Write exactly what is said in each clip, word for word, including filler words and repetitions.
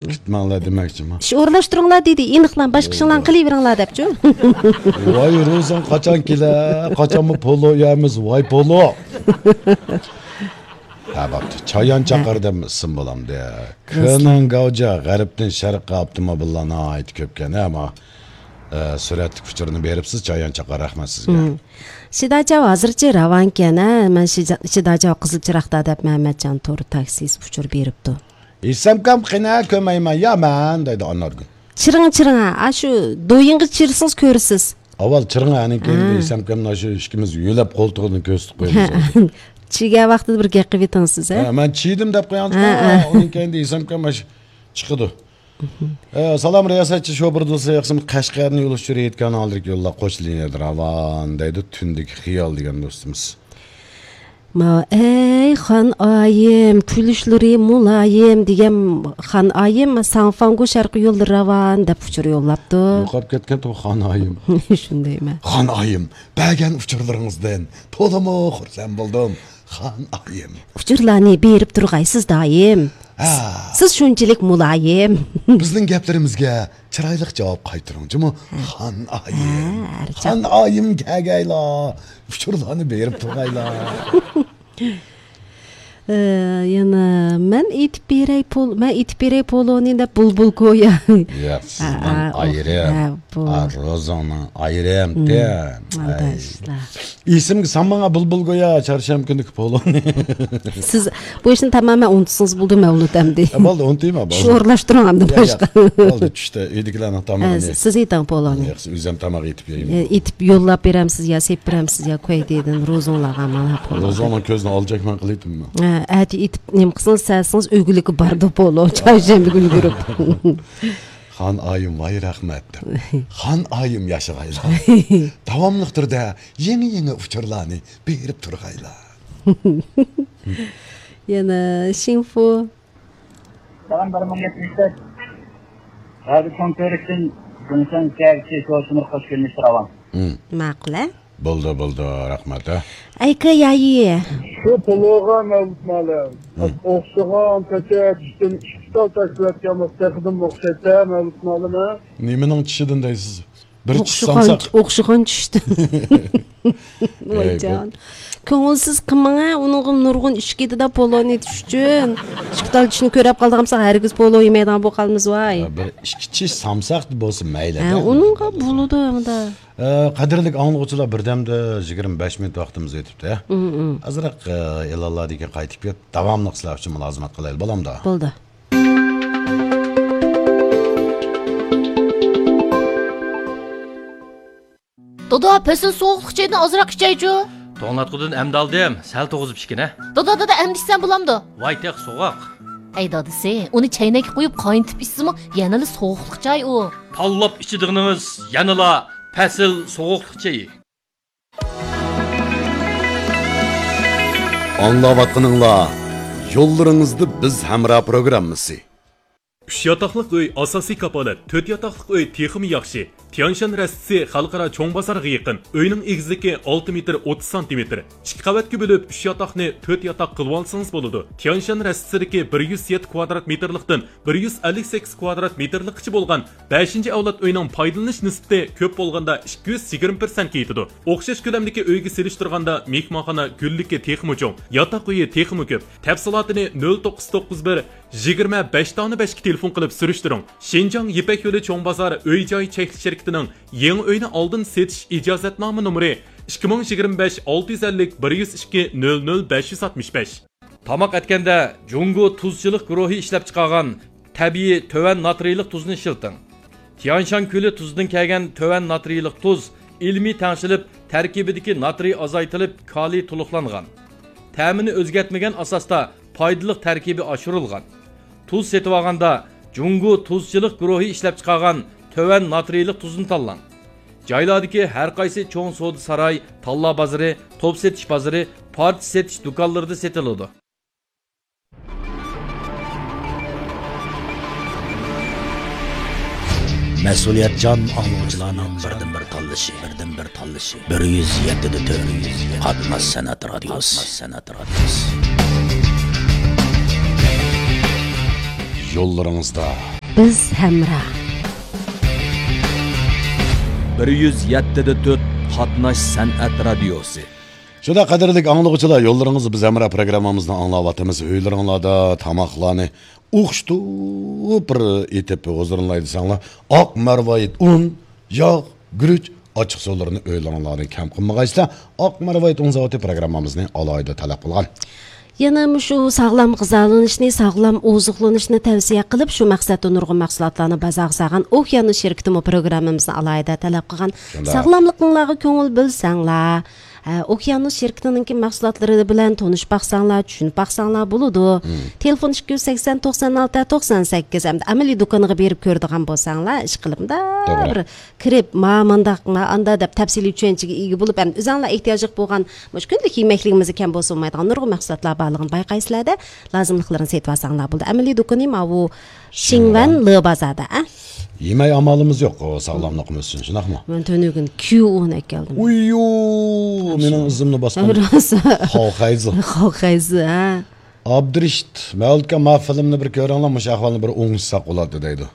كۈتمەڭلار دېمەكچىما؟ ئىش ئورۇنلاشتۇرۇڭلار دېدى، ئېنىقلا باشقا ئىشىڭلارنى قىلىۋېرىڭلار دەپچۇ. ۋاي روزىڭ قاچان كېلە؟ قاچانمۇ پولو يەرمىز، ۋاي پولو. ھە، بوپتۇ. چايان چاقار دەپ ئىسىم بولامدۇ؟ كېنىڭ گاۋجا، غەربتىن شەرققە ئاپتوموبىللار ناھايىتى كۆپكەن، ئەمما، ئە، سۈرەتلىك ئۇچۇرنى بېرىپسىز، چايان چاقار، رەھمەت سىزگە. شىداچاۋ ھازىرچە راۋانكەن، ھە؟ مەن شىجا-، شىداچاۋ قىزىل چىراقتا دەپ مەمەتجان تور تاكسىسى ئۇچۇر بېرىپتۇ. ئېسەمكەم قېنى كۆرمەيمەن يا مەن دەيدۇ ئانارگۈل. چىرىڭ، چىرىڭ، ھە، ئاشۇ دويۇڭغا چىرسىڭىز كۆرىسىز. ئاۋۋال چىرىڭ، ئانىڭ كېيىن ھە. ئېسەمكەمنى ئاشۇ ئىككىمىز يۆلەپ قولتۇقىدىن كۆرسىتىپ قويىمىز. چىگەن ۋاقتىدا بىر گەپ قىلىۋېتىڭ سىز، ھە؟ ھە، مەن چىدىم دەپ قوياڭ، ھە، ھە. ئۇنىڭ كەينىدە ئېسەمكەم ئاشۇ چىقىدۇ. ئە، سالام رىياسەتچى شوپۇر دوستلار، ياخشىمۇ؟ قەشقەردىن يول ئۇچۇرى ئېيتكان ھالدىكى يوللار قوش لىنىيەدە راۋان دەيدۇ، تۈندىكى خىيال دېگەن دوستىمىز. ماۋۇ، ئەي خان ئايىم، كۈلۈشلىرى مۇلايىم دېگەن خان ئايىم، ساڭفاڭگۇ شەرقىي يوللىرى راۋان دەپ ئۇچۇر يوللاپتۇ. يوقاپ كەتكەنتۇ خان ئايىم. شۇندايمەن. خان ئايىم، بەرگەن ئۇچۇرلىرىڭىزدىن تولىمۇ خۇرسەن بولدۇم. خان ئايىم. ئۇچۇرلارنى بېرىپ تۇرغايسىز دائىم. ھە. سىز شۇنچىلىك مۇلايىم. بىزنىڭ گەپلىرىمىزگە چىرايلىق جاۋاب قايتۇرۇڭ جۇمۇ، ھە. خان ئايىم. ھە، ھەر چاغ. خان ئايىم كەلگەيلا، ئۇچۇرلارنى بېرىپ تۇرغايلا. ئە، يەنە مەن ئېيتىپ بېرەي پول-، مەن ئېيتىپ بېرەي پولونى دەپ بۇلبۇل گويا. ياق، سىزنىڭ ھە، ئۇ، ئايرىم. ھە، بۇ. ئا، روزاڭنىڭ ئايرىم. مم، تەن. ئاي. ئاداشلار. ئېسىمگە سالماڭا بۇلبۇل گويا، چارشەنبە كۈنىدىكى پولونى. سىز بۇ ئىشنى تامامەن ئۇنتۇسىڭىز بولدى، مەۋلۇت ئەمدى. ھە، بولدى، ئۇنتۇيما، بولدى. شۇ ئورۇنلاشتۇرۇڭ ئەمدى يا، يا. باشقا. بولدى، چۈشتە ئۆيدىكىلەرنىڭ ھە، تامىقىنى. سىز ئېيتىڭ پولونى. ياق، ئۆزۈم تاماق ئېتىپ يەيمەن. ئە، ئېتىپ يوللاپ بېرەمسىز يا، سېلىپ بېرەمسىز يا، كويدىدىن روزۇڭلارغا مانا پولو. روزۇڭنىڭ كۆزىنى ئالجاكمەن قىلىۋېتىممۇ؟ ئە، ئەتە ئېتىپ نېمە قىلسىڭىز، سەلسىڭىز ئۆگۈنلۈكى باردۇ پولو، چارشەنبە كۈنى كۆرۈپ. خان ئايىم ۋاي رەھمەت دەپ. خان ئايىم ياشىغايلا. داۋاملىق تۈردە يېڭى-يېڭى ئۇچۇرلارنى بېرىپ تۇرغايلا. يەنە شىڭفۇ. سالام، بىر مىڭ يەتمىش تۆت. رادىيو چوڭ كۆۋرۈكتىن گۇڭسەن سىياگچى شوشىمۇر خوش كۆرۈنۈشتە راۋان. مم. ماقۇل، ھە؟ بولدى، بولدى، رەھمەت، ھە؟ ئەيكە يايى. شۇ پولوغا مەۋلۇت مالىم. مم. ئوخشىغان تەكەر ئىشتىن ئىككى تال تاشلىۋەتكەن بولسا تېخىدىمۇ ئوخشايتتى، مەۋلۇت مالىم، ھە؟ نېمىنىڭ چىشىدىن دەيسىز؟ بىر چىش ئوخشىغان، سامساق. ئوخشىغان چىشتىن. ۋايجان. كۆڭۈلسىز قىلماڭ، ھە، ئۇنىڭغا نۇرغۇن ئىش كېتىدۇ پولونى ئېتىش ئۈچۈن. ئىككى تال چىشنى كۆرەپ قالىدىغان بولساق، ھەرگىز پولو يېمەيدىغان بولۇپ قالىمىز، ۋاي. ھە، بىر ئىككى چىش سامساق بولسا مەيلى، ھە، ھە، ئۇنىڭغا بولىدۇ ئەمدى. ئە، قەدىرلىك ئاڭلىغۇچىلار، بىردەمدە يىگىرمە بەش مىنۇت ۋاقتىمىز ئۆتۈپتۇ، ھە؟ مم، مم. ئازراق، ئە، ئېلانلاردىن كېيىن قايتىپ كېلىپ، داۋاملىق سىلەر ئۈچۈن مۇلازىمەت قىلايلى، بولامدۇ؟ بولدى. دادا، پەسىل سوغۇقلۇق چېيىدىن ئازراق ئىچەيچۇ. توڭلاتقۇدىن ئەمدى ئالدىم، سەل توغۇزۇپ ئىچكىنە. دادا، دادا، ئەمدى ئىچسەم بولامدۇ؟ ۋاي، تېخى سوغۇق. ھەي دادىسى، ئۇنى چەينەككە قۇيۇپ قاينىتىپ ئىچسىمۇ يەنىلا سوغۇقلۇق چاي ئۇ. تاللاپ ئىچىدىغىنىڭىز يەنىلا پەسىل سوغۇقلۇق چېيى. ئاڭلاۋاتقىنىڭلار يوللىرىڭىزدا بىز ھەمراھ پروگراممىسى. ئۈچ ياتاقلىق ئۆي ئاساسىي كاپالەت، تۆت ياتاقلىق ئۆي تېخىمۇ ياخشى. تيانشان رەستىسى خەلقئارا چوڭ بازارغا يېقىن. ئۆينىڭ ئېگىزلىكى ئالتە مېتىر ئوتتۇز سانتىمېتىر. ئىككى قەۋەتكە بۆلۈپ، ئۈچ ياتاقنى تۆت ياتاق قىلىۋالسىڭىز بولىدۇ. تيانشان رەستىسىدىكى بىر يۈز يەتتە كۋادرات مېتىرلىقتىن بىر يۈز ئەللىك سەككىز كۋادرات مېتىرلىققىچە بولغان بەشىنچى ئەۋلاد ئۆينىڭ پايدىلىنىش نىسبىتى كۆپ بولغاندا ئىككى يۈز يىگىرمە پىرسەنتكە يېتىدۇ. ئوخشاش كۆلەمدىكى ئۆيگە سېلىشتۇرغاندا مېھمانخانا گۈللۈكى تېخىمۇ چوڭ، ياتاق ئۆيى تېخىمۇ كۆپ. تەپسىلاتىنى نۆل توققۇز توققۇز بىر، يىگىرمە بەش دانە بەشكە تېلېفون قىلىپ سۈرۈشتۈرۈڭ. شىنجاڭ يىپەك يولى چوڭ بازار ئۆي جاي چەكلىك شىركىتىنىڭ يېڭى ئۆينى ئالدىن سېتىش ئىجازەتنامە نومۇرى ئىككى مىڭ يىگىرمە بەش ئالتە يۈز ئەللىك بىر يۈز ئىككى نۆل نۆل بەش يۈز ئاتمىش بەش. تاماق ئەتكەندە جۇڭگو تۇزچىلىق گۇرۇھى ئىشلەپچىقارغان تەبىئىي تۆۋەن ناترىيلىق تۇزنى ئىشلىتىڭ. تيانشان كۆلى تۇزىدىن كەلگەن تۆۋەن ناترىيلىق تۇز ئىلمىي تەڭشىلىپ، تەركىبىدىكى ناترىي ئازايتىلىپ، كالىي تولۇقلانغان. تەمىنى ئۆزگەرتمىگەن ئاساستا پايدىلىق تەركىبى ئاشۇرۇلغان. تۇز سېتىۋالغاندا جۇڭگو تۇزچىلىق گۇرۇھى ئىشلەپچىقارغان تۆۋەن ناترىيلىق تۇزنى تاللاڭ. جايلاردىكى ھەر قايسى چوڭ سودا ساراي، تاللا بازىرى، توپ سېتىش بازىرى، پارچە سېتىش دۇكانلىرىدا سېتىلىدۇ. مەسئۇلىيەتچان ئاڭلىغۇچىلارنىڭ بىردىنبىر تاللىشى، بىردىنبىر تاللىشى. بىر يۈز يەتتە دە تۆت قاتناش سەنئەت رادىيوسى. يوللىرىڭىزدا. بىز ھەمراھ. بىر يۈز يەتتە دە تۆت قاتناش سەنئەت رادىيوسى. شۇنداق قەدىرلىك ئاڭلىغۇچىلار، يوللىرىڭىزدا بىز ھەمراھ پروگراممىمىزنى ئاڭلاۋاتىمىز. ئۆيلىرىڭلاردا تاماقلارنى ئوخشىتىپ بىر ئېتىپ ھۇزۇرلىناي دېسەڭلار، ئاق مەرۋايىت ئۇن، ياغ، گۈرۈچ، ئاچچىقسۇلىرىنى ئۆيلىرىڭلاردا كەم قىلمىغايسىلەر. ئاق مەرۋايىت ئۇن زاۋۇتى پروگراممىمىزنى ئالاھىدە تەلەپ قىلغان. يەنە مۇشۇ ساغلام غىزالىنىشنى، ساغلام ئوزۇقلىنىشنى تەۋسىيە قىلىپ، شۇ مەقسەتتە نۇرغۇن مەھسۇلاتلارنى بازارغا سالغان ئوكيانۇس شىركىتىمۇ پروگراممىمىزنى ئالاھىدە تەلەپ قىلغان. شۇنداق. ساغلاملىقىڭلارغا كۆڭۈل بۆلسەڭلار، ھە، ئوكيانۇس شىركىتىنىڭكى مەھسۇلاتلىرى بىلەن تونۇشۇپ باقساڭلار، چۈشىنىپ باقساڭلار بولىدۇ. مم. تېلېفون ئىككى يۈز سەكسەن، توقسان ئالتە، توقسان سەككىز ھەمدە ئەمەلىي دۇكانىغا بېرىپ كۆرىدىغان بولساڭلار، ئىشقىلىپ مۇنداق توغرا. بىر كىرىپ، ما مانداق، ما ئاندا دەپ تەپسىلىي چۈشەنچىگە ئىگە بولۇپ، ھەم ئۆزۈڭلار ئېھتىياجلىق بولغان مۇشۇ كۈندىلىك يېمەكلىكىمىزدە كەم بولسا بولمايدىغان نۇرغۇن مەھسۇلاتلار بارلىقىنى بايقايسىلەردە، لازىملىقلىرىنى سېتىۋالساڭلار بولىدۇ. ئەمەلىي دۇكىنى ماۋۇ شىڭۋەن لې بازاردا، ئە؟ يېمەي ئامالىمىز يوق، ئۇ ساغلاملىقىمىز ئۈچۈن، شۇنداقمۇ؟ مەن تۈنۈگۈن كيۇ ئۇن ئەكەلدىم. ئۇييۇ، مېنىڭ ئىزىمنى باسقان. راست. خاۋخەيزى. خاۋخەيزى، ھە. ئابدۇرېشىت، مەۋلۇتكە، ما فىلىمنى بىر كۆرۈڭلار، مۇشۇ ئەھۋالنى بىر ئوڭشىساق بولاتتى دەيدۇ.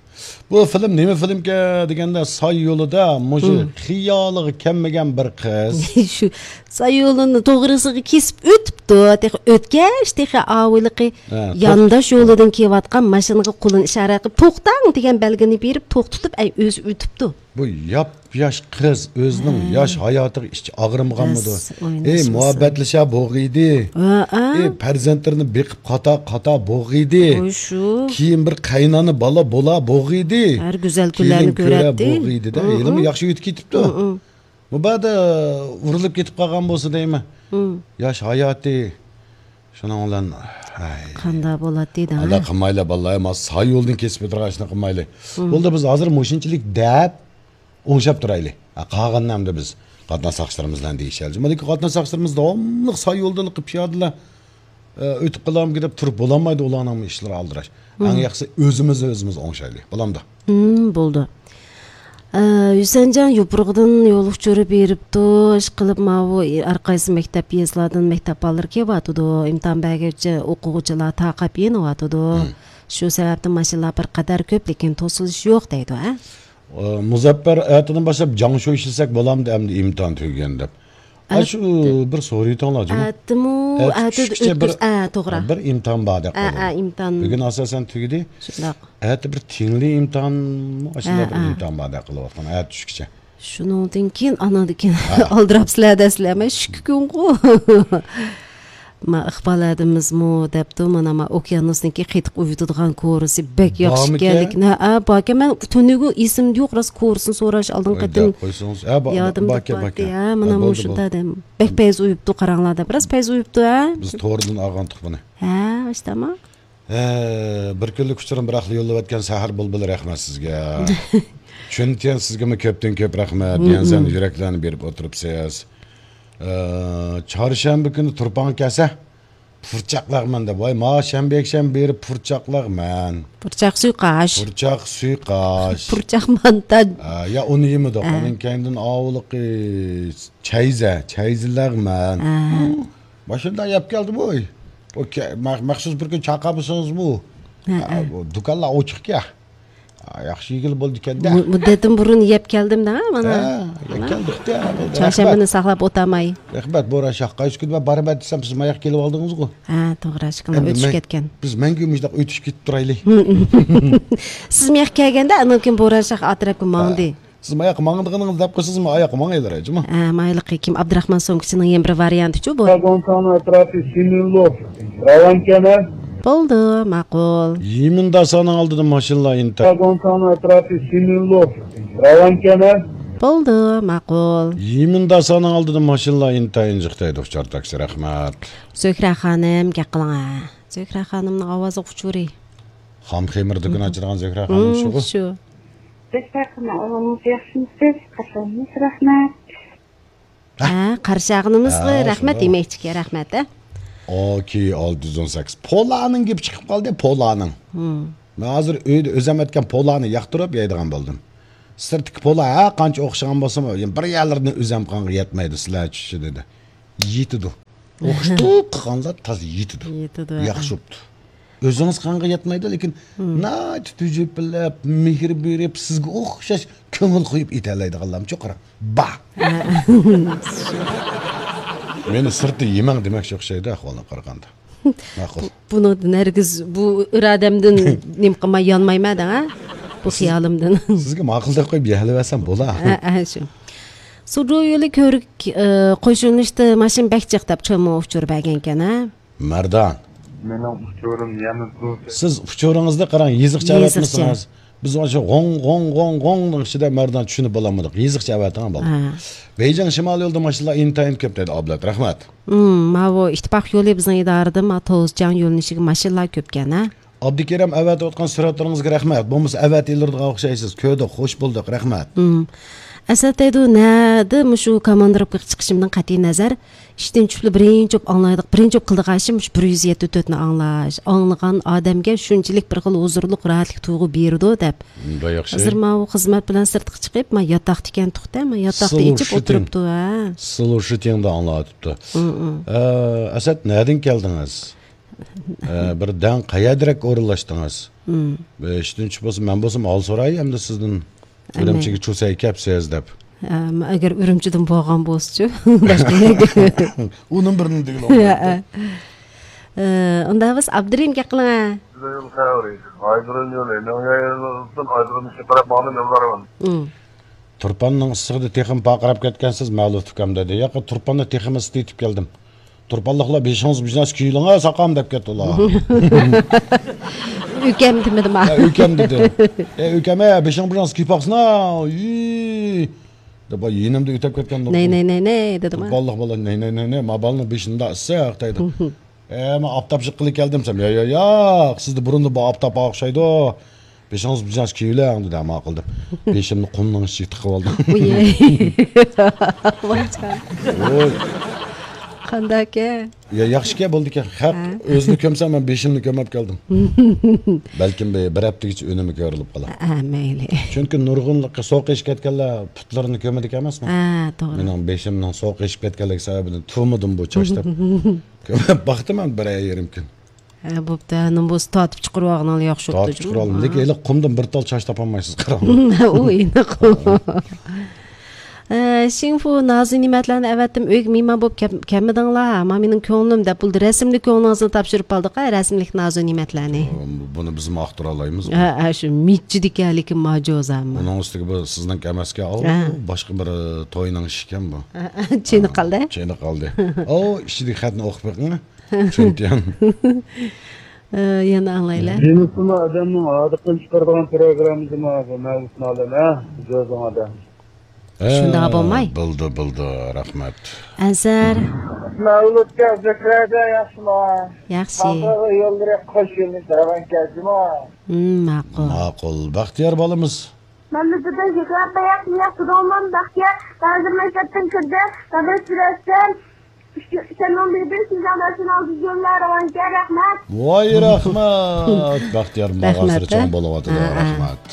بۇ فىلىم نېمە فىلىمكەن دېگەندە، ساي يولىدا مۇشۇ مم. خىيالىغا كەلمىگەن بىر قىز. شۇ ساي يولىنى توغرىسىغا كېسىپ ئۆتۈپتۇ. تېخى ئۆتكەچ، تېخى ئاۋۇلىقى ھە، يانداش توخ- يولىدىن كېلىۋاتقان ماشىنىغا قولىنى ئىشارە قىلىپ، توختاڭ دېگەن بەلگىنى بېرىپ، توختىتىپ، ئەي، ئۆزى ئۆتۈپتۇ. بۇ ياپياش قىز ئۆزىنىڭ ھە. ياش ھاياتىغا ئىچى ئاغرىمىغانمىدۇ؟ راست، ئەي، ئويناشمىسا. مۇھەببەتلىشە بوغىيدى. ھە، ھە. ئەي، پەرزەنتلىرىنى بېقىپ قاتا، قاتا بوغىيدى. ئوي، شۇ. كېيىن بىر قاينانا بالا بولا بوغىيدى. ھەر گۈزەل كۈنلەرنى كېلىن كۆرە كۆرەتتى. بوغىيدى-دە. ھە، ھېلىمۇ ھە. ياخشى ئۆتۈپ كېتىپتۇ. ھە، ھە. مۇبادا ئۇرۇلۇپ كېتىپ قالغان بولسا دەيمەن. ھە. ياش ھاياتى. شۇنىڭ بىلەن، ھەي. قانداق بولاتتى دەڭ، ئاللا ھە؟ قىلمايلا، باللا، ما ساي يولدىن كېسىپ ئۆتىدىغان ئىشنى قىلمايلى. ھە. بولدى، بىز ھازىر مۇشۇنچىلىك دەپ ئوڭشاپ تۇرايلى. ھە، قالغىنىنى ئەمدى بىز قاتناش ساقچىلىرىمىز بىلەن دېيىشەيلى. مانا قاتناش ساقچىلىرىمىز داۋاملىق ساي يولدىن قىلىپ پىيادىلەر، ئە، ئۆتۈپ قالامدۇ دەپ تۇرۇپ بولالمايدۇ، ئۇلارنىڭ ئىشلىرى ئالدىراش. ئەڭ ھىم. ياخشىسى ئۆزىمىز ئۆزىمىز ئوڭشايلى. بولامدۇ؟ ھىم، بولدى. ئە، ھۈسەنجان يوپۇرغىدىن يول ئۇچۇرى بېرىپتۇ. ئىشقىلىپ، ماۋۇ ھەر قايسى مەكتەپ يېزىلارىدىن مەكتەپ بالىلىرى كېلىۋاتىدۇ. ئىمتىھان بەرگۈچە ئوقۇغۇچىلار تاقاپ يېنىۋاتىدۇ. ھىم. شۇ سەۋەبتىن ماشىنىلار بىر قەدەر كۆپ، لېكىن توسۇلۇش يوق دەيدۇ، ھە؟ ئە، مۇزەپپەر ئەتىدىن باشلاپ جاڭشۇ ئىشلىسەك بولامدۇ ئەمدى ئىمتىھان تۈگىگەن دەپ؟ ئاشۇ ئەتە. بىر سورىيىتىڭلار جۇمۇ. ئەتىمۇ، ئەتە ئەتە چۈشكىچە بىر، ئۆتكۈز-، ئە، توغرا. بىر ئىمتىھان باردەك ئە، قىلدى. ئە، ئىمتىھان. بۈگۈن ئاساسەن تۈگىدى. شۇنداق. ئەتە بىر تىڭلى ئىمتىھانمۇ ئاشۇنداق ئە، بىر ئە. ئىمتىھان باردەك قىلىۋاتقان. ئەتە چۈشكىچە. شۇنىڭدىن كېيىن، ئانىڭدىن كېيىن ھە. ئالدىراپسىلەر دەسلەر، مەن شۈككۈنغۇ. ما ئىقبال ھەدىمىزمۇ دەپتۇ، مانا ما ئوكيانۇسنىڭكى قېتىق ئۇيۇتىدىغان كورىسى بەك ياخشى ئىكەنلىكىنى. ھە، باركەن. مەن تۈنۈگۈن ئېسىمدە يوق، راست كورىسىنى سوراش ئالدىنقى قېتىم. قويسىڭىز. ھە، با-، يادىمدا باركەن، باركەن. ھە، مانا ھە، بولدى، مۇشۇندا بولدى. دەم. بەك پەيزى ئۇيۇپتۇ، قاراڭلار دەپ. راست پەيزى ئۇيۇپتۇ، ھە؟ بىز توردىن ئالغانتۇق بۇنى. ھە، ئاشتاما. ھە، بىر كۈنلۈك ئۇچۇرۇم بىراقلا يوللىۋەتكەن سەھەر بۇلبۇلى، رەھمەت سىزگە. چۈنتيەن سىزگىمۇ كۆپتىن كۆپ رەھمەت. ھىم، يەنسەن ھىم. يۈرەكلەرنى بېرىپ ئولتۇرۇپسىز. ئە، چارشەنبە كۈنى تۇرپان كەلسە، پۇرچاقلاغمەن دەپ. ۋاي، ما شەنبە، يەكشەنبە بېرىپ پۇرچاقلاغمەن. پۇرچاق سۇيقاش. پۇرچاق سۇيقاش. پۇرچاق مانتا. ئە، يا ئۇنى يېمىدۇق. ئە. ئۇنىڭ كەينىدىن ئاۋۇلىقى چەيزە، چەيزىلەغمەن. ئە. ماشىنىدا يەپ كەلدىم، ۋوي. ئۇ كە-، مە-، مەخسۇس بىر كۈن چاقىرمىسىڭىزمۇ؟ ھە، ئا، ھە. بۇ دۇكانلار ئوچۇقكەن. ئا، ياخشى يېگىلى بولدىكەن-دە. مۇ-، مۇددەتتىن بۇرۇن يەپ كەلدىم دە، مانا. ھە، يەپ كەلدۇق-دە. چارشەنبىنى ساقلاپ ئولتۇرماي. رەھمەت، بوران شاھ. قايسى كۈنى مەن بارىمەن دېسەم، سىز ماياق كېلىۋالدىڭىزغۇ. ھە، توغرا، ئىشقىلىپ ئۆتۈشۈپ كەتكەن. بىز مەڭگۈ مۇشۇنداق ئۆتۈشۈپ كېتىپ تۇرايلى. سىز ماياق كەلگەندە، ئاندىن كېيىن بوران شاھ ئا تەرەپكە ماڭدى. ھە. سىز ماياققا ماڭىدىغىنىڭىزنى دەپ قويسىڭىز، مەن ئاياققا ماڭايلىراي، جۇمۇ. ئە، مايلىقى كىم؟ ئابدۇراخمان سومكىسىنىڭ يەنە بىر ۋارىيانتىچۇ بۇ؟ Вагонтан ئەتراپى سىمىنلوف راۋانكەنە. بولدى، ماقۇل. يىمىنداسانىڭ ئالدىدا ماشىنىلار ئىنتايىن. Вагонтан ئەتراپى سىمىنلوف راۋانكەنە. بولدى، ماقۇل. يىمىنداسانىڭ ئالدىدا ماشىنىلار ئىنتايىن جىق دەيدۇ ئۇچار تاكسى، رەھمەت. زۆھرە خانىم، گەپ قىلىڭ، ھە. زۆھرە خانىمنىڭ ئاۋازلىق ئۇچۇرى. خام خېمىر دۇكىنى ئاچىدىغان زۆھرە خانىم شۇغۇ؟ شۇ. زۆھرە خانىم، ئاۋازىڭىز ياخشىمۇسىز؟ قارشى ئالغىنىڭىزغا رەھمەت. ھە، قارشى ئالغىنىمىزغا رەھمەت، شۇنداق. يېمەكلىككە رەھمەت، ھە. ئوكېي، ئالتە يۈز ئون سەككىز. پولانىڭ گېپى چىقىپ قالدى، پولانىڭ. مەن ھازىر ئۆيدە ئۆزۈم ئەتكەن پولانى ياقتۇرۇپ يەيدىغان بولدۇم. سىرتتىكى پولا ھەر قانچە ئوخشىغان بولسىمۇ، يەنە بىر يەرلىرىدىن ئۆزۈم قانغا يەتمەيدۇ، سىلەر چۈشى دېدى. يېتىدۇ. ئوخشىتىپ قىلغانلار تازا يېتىدۇ. يېتىدۇ، ياخشى ھە. بوپتۇ. ئۆزىڭىز قانغا يەتمەيدۇ، لېكىن ناھايىتى تۈجۈپىلەپ، مېھىر بېرىپ، سىزگە ئوخشاش كۆڭۈل قويۇپ ئېتەلەيدىغانلارمۇچۇ قاراڭ. بار. مېنى سىرتتا يېمەڭ دېمەكچى ئوخشايدۇ، ئەھۋالدىن قارىغاندا. ماقۇل. بۇنىڭدىن ھەرگىز، بۇ ئىرادەمدىن نېمە قىلماي يانمايمەن دەڭ، ھە؟ بۇ خىيالىمدىن. سىزگە ماقۇل دەپ قويۇپ يەلىۋەرسەم بولا. ھە، ھە، شۇ. سۇدۇ يولى كۆۋرۈك، ئە، قوشۇلۇشتا ماشىنا بەك جىق دەپ چوڭ ئۇچۇر بەرگەنكەن، ھە؟ مەردان. مېنىڭ ئۇچۇرۇم يەنە بۇ. سىز ئۇچۇرىڭىزدا قاراڭ، يېزىقچە يېزىقچە. ئەۋەتمىسىڭىز. بىز ئاشۇ غوڭ، غوڭ، غوڭ، غوڭنىڭ ئىچىدە مەردان چۈشىنىپ بولالمىدۇق. يېزىقچە ئەۋەتىڭ بالىلار. ھە. بېيجىڭ شىمالىي يولىدا ماشىنىلار ئىنتايىن كۆپ دەيدۇ ئابلەت. رەھمەت. ھىم، ماۋۇ ئىتتىپاق يولى بىزنىڭ ئىدارىدىن ما توزجاڭ يۆنىلىشىگە ماشىنىلار كۆپكەن، ھە؟ ئابدۇكېرىم ئەۋەتىۋاتقان سۈرەتلىرىڭىزگە رەھمەت. بولمىسا ئەۋەتىۋېرىدىغان ئوخشايسىز. كۆردۇق، خوش بولدۇق، رەھمەت. ھىم. ئەسەت دەيدۇ، نەدە مۇشۇ كاماندىروپكىغا چىقىشىمدىن قەتئىي نەزەر، ئىشتىن چۈشۈپلا بىرىنچى بولۇپ ئاڭلايدىغان، بىرىنچى بولۇپ قىلىدىغان ئىشىم مۇشۇ بىر يۈز يەتتە تۆتنى ئاڭلاش. ئاڭلىغان ئادەمگە شۇنچىلىك بىر خىل ھۇزۇرلۇق، راھەتلىك تۇيغۇ بېرىدۇ دەپ. بەك ياخشى. ھازىر ماۋۇ خىزمەت بىلەن سىرتقا چىقىپ، ما ياتاقتا ئىكەن توختە، ما ياتاقتا ئىچىپ ئولتۇرۇپتۇ، ھە. سلۇشىتىڭ. سلۇشىتىڭدا ئاڭلاۋاتىپتۇ. ھىم، ھىم. ئە، ئەسەت، نەدىن كەلدىڭىز؟ ئە، بىردەم قەيەردىرەك ئورۇنلاشتىڭىز؟ ھىم. ئىشتىن چۈشۈپ بولسا، مەن بولسام ھال سوراي ئەمدى سىزدىن. ئەمدى. ئۈرۈمچىگە چۇسەي كەپسىز دەپ. ئەم، ئەگەر ئۈرۈمچىدىن بولغان بولسىچۇ، باشقا يەرگە. ئۇنىڭ بىرىنى دېگىلى بولمايدۇ. ھە، ھە. ئە، ئۇندا بىز ئابدۇرېھىم گەپ قىلىڭە. يول خەۋىرى. ئايدۇرۇن يولى. مېڭە يولىدىن ئايدۇرۇن ئىشقا قاراپ ماڭدىم يوللارغا. ھىم. تۇرپاننىڭ ئىسسىقىدا تېخىمۇ پارقىراپ كەتكەنسىز، مەلۇھ ئۇكام، دېدى. ياق، تۇرپاندا تېخىمۇ ئىسسىق يېتىپ كەلدىم. تۇرپانلىقلار بېشىڭىز بىر نەرسە كىيىۋېلىڭ، ساقام، دەپ كەتتى ئۇلار. ئۆكەم دېمىدىم. ھە، ئۆكەم دېدى. ئە، ئۆكەم، ئە، بېشىڭ بىر نەرسە كىيىپ باقسىنا. ئىي، دەپ يېنىمدا ئۆتۈپ كەتكەن. نەي، نەي، نەي، نەي، دېدىم. تۇرپانلىق بالا، نەي، نەي، نەي، نەي، ما بالىنىڭ بېشىندا ئىسسىق، دەيدۇ. ئە، مەن ئاپتاپچىلىق قىلىپ كەلدىم دېسەم، يا، يا، ياق، سىزدە بۇرۇندا بار ئاپتاپ ئوخشايدۇ. بېشىڭىز بىجاز كىيىۋېلىڭ، دېدى، ھە، ماقۇل دەپ. بېشىمنى قۇمنىڭ ئىچىگە تىقىۋالدىم. ۋاي جان. ۋوي. قانداكەن؟ يا، ياخشىكەن، بولىدىكەن. خەق ئۆزىنى كۆمسە، مەن بېشىمنى كۆمۈپ كەلدىم. بەلكىم بىر، بىر ھەپتىگىچە ئۈنۈمى كۆرۈلۈپ قالار. ھە، مەيلى. چۈنكى نۇرغۇنلىقى سوغۇق ئېشىپ كەتكەنلەر پۇتلىرىنى كۆمىدىكەن ئەمەسمۇ؟ ھە، توغرا. مېنىڭ بېشىمنىڭ سوغۇق ئېشىپ كەتكەنلىكى سەۋەبىدىن تۇرمىدىم بۇ چاچ دەپ. كۆمۈپ باقتىم مەن بىر يېرىم كۈن. ھە، بوپتۇ. ھە، نومۇس تارتىپ چىقىرىۋالغىنىڭلا ياخشى بوپتۇ. تارتىپ چىقىرىۋالدىم. لېكىن ھېلى قۇمدىن بىر تال چاچ تاپالمايسىز، قاراڭ. ئۇ ئېنىق. ھە. ئە، شىڭفۇ نازۇ نېمەتلەرنى ئەۋەتتىم. ئۆيگە مېھمان بولۇپ كەپ-، كەلمىدىڭلار. ما مېنىڭ كۆڭلۈم دەپ بولدى. رەسىملىك كۆڭلىڭىزنى تاپشۇرۇپ ئالدۇق، ھە، رەسىملىك نازۇ نېمەتلەرنى. بۇنى بىزمۇ ئاختۇرالايمىز. ھە، ھە، شۇ مىچچىدىكەن، لېكىن ماجۇزا. ئۇنىڭ ئۈستىگە بۇ سىزنىڭكى ئەمەسكەن. ئاۋۇ باشقا بىر، ئە، توينىڭ ئىشىكەن بۇ. ھە، ھە، چېنىقالدى. چېنىقالدى. ئاۋۇ ئىچىدىكى خەتنى ئوقۇپ بېقىڭ. چۈنتيەن. ئە، يەنە ئاڭلايلى. جىنسىمۇ ئادەمنىڭ ھاردۇقىنى چىقىرىدىغان پروگراممىسىمۇ بۇ مەۋلۇت مالىم، ھە؟ جوزىڭ ئادەم. ھە، شۇنداق بولماي. بولدى، بولدى، رەھمەت. ئەنسەر. مەۋلۇتكە، زۆھرەگە ياخشىمۇ؟ ياخشى. خەلقىگە يوللىرى قوش يۆنىلىش راۋان كەلدىمۇ؟ ھىم، ماقۇل. ماقۇل، بەختىيار بالىمىز. مەملىكىتىدە زۆھرە بەك ياخشى، ياخشى دوغمام بەختىيار، ھازىر مەكتەپتىن كىردى، خەۋەر سۈرەتتىن. سەننىڭ بىردىن شىنجاڭدا شۇنىڭ بىزگە رەۋانكە، رەھمەت. ۋاي رەھمەت! بەختىيار ماغا رەھمەت، سىرى چوڭ بولۇۋاتىدۇ، ھە، ھە. رەھمەت.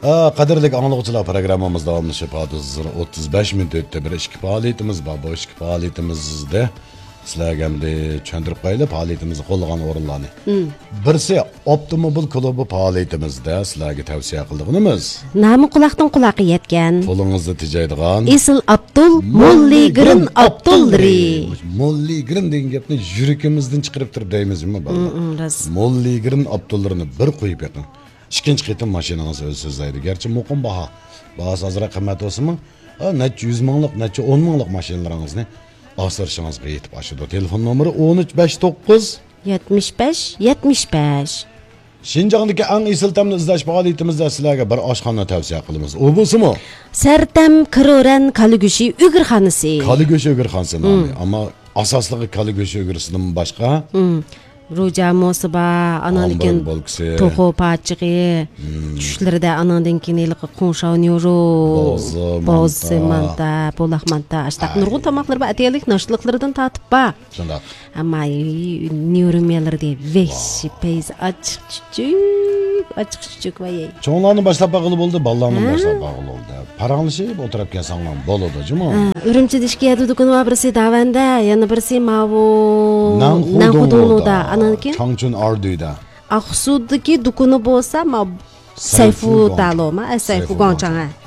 ئا، قەدىرلىك ئاڭلىغۇچىلار، پروگراممىمىز داۋاملىشىپ، ھازىر ئوتتۇز بەش مىنۇت ئۆتتى. بىر ئىككى پائالىيىتىمىز بار. بۇ ئىككى پائالىيىتىمىزدە سىلەرگە ئەمدى چۈشەندۈرۈپ قويايلى، پائالىيىتىمىزنى قوللىغان ئورۇنلارنى. مم. بىرسى، ئاپتوموبىل كۇلۇبى پائالىيىتىمىزدە سىلەرگە تەۋسىيە قىلىدىغىنىمىز. نامى قۇلاقتىن قۇلاققا يەتكەن. قولىڭىزدا تېجەيدىغان. ئېسىل ئابدۇل، موللىگرىن ئابدۇللىرى. موللىگرىن دېگەن گەپنى يۈرىكىمىزدىن چىقىرىپ تۇرۇپ دەيمىز جۇمۇ، بالىلار. مم، مم، راست. موللىگرىن ئابدۇللىرىنى بىر قويۇپ بېقىڭ. ئىككىنچى قېتىم ماشىنىڭىز ئۆزى سۆزلەيدۇ. گەرچە مۇقىم باھا، باھاسى ئازراق قىممەت بولسىمۇ، ئا، نەچچە يۈز مىڭلىق، نەچچە ئون مىڭلىق ماشىنىلىرىڭىزنى ئاسرىشىڭىزغا يېتىپ ئاشىدۇ. تېلېفون نومۇرى ئون ئۈچ بەش توققۇز. يەتمىش بەش، يەتمىش بەش. شىنجاڭدىكى ئەڭ ئېسىل تەمنى ئىزدەش پائالىيىتىمىزدە سىلەرگە بىر ئاشخانا تەۋسىيە قىلىمىز. ئۇ بولسىمۇ؟ سەرتەم كىرورەن كالا گۆشى ئۆگرىخانىسى. كالا گۆشى ئۆگرىخانىسى نامى. مم. ئەمما ئاساسلىقى كالا گۆشى ئۆگرىسىدىن باشقا. مم. روجا موسى بار، ئاناندىن كېيىن توخۇ پاچىقى، مم، چۈشلىرىدە ئاناندىن كېيىن ھېلىقى قوڭشاۋ نيورو، بوزى، بوزى مانتا، مانتا، بولاق مانتا، ئاشتاق ئاي، نۇرغۇن تاماقلىرى بار، ئەتىگەنلىك ناشتىلىقلىرىدىن تارتىپ بار. شۇنداق. ئەمما نيورو مېلىرى دېگەن ۋەھشىي پەيزى ئاچچىق چۈچۈك. ئاچچىق چۈچۈك ۋاي. چوڭلارنى باشلاپ باققىلى بولدى، بالىلارنى باشلاپ باققىلى بولدى. پاراڭلىشىپ ئولتۇرۇپ كەلسەڭلار بولىدۇ جۇمۇ. ئۈرۈمچىدە ئىككى يەردە دۇكىنى بار، بىرسى داۋەندە، يەنە بىرسى ماۋۇ نەنخۇدۇڭلۇدا. ئانان كېيىن چاڭچۈن ئاردۈيدە. ئاقسۇدىكى دۇكىنى بولسا ما سەيفۇ دالوما، سەيفۇ گوڭچاڭ.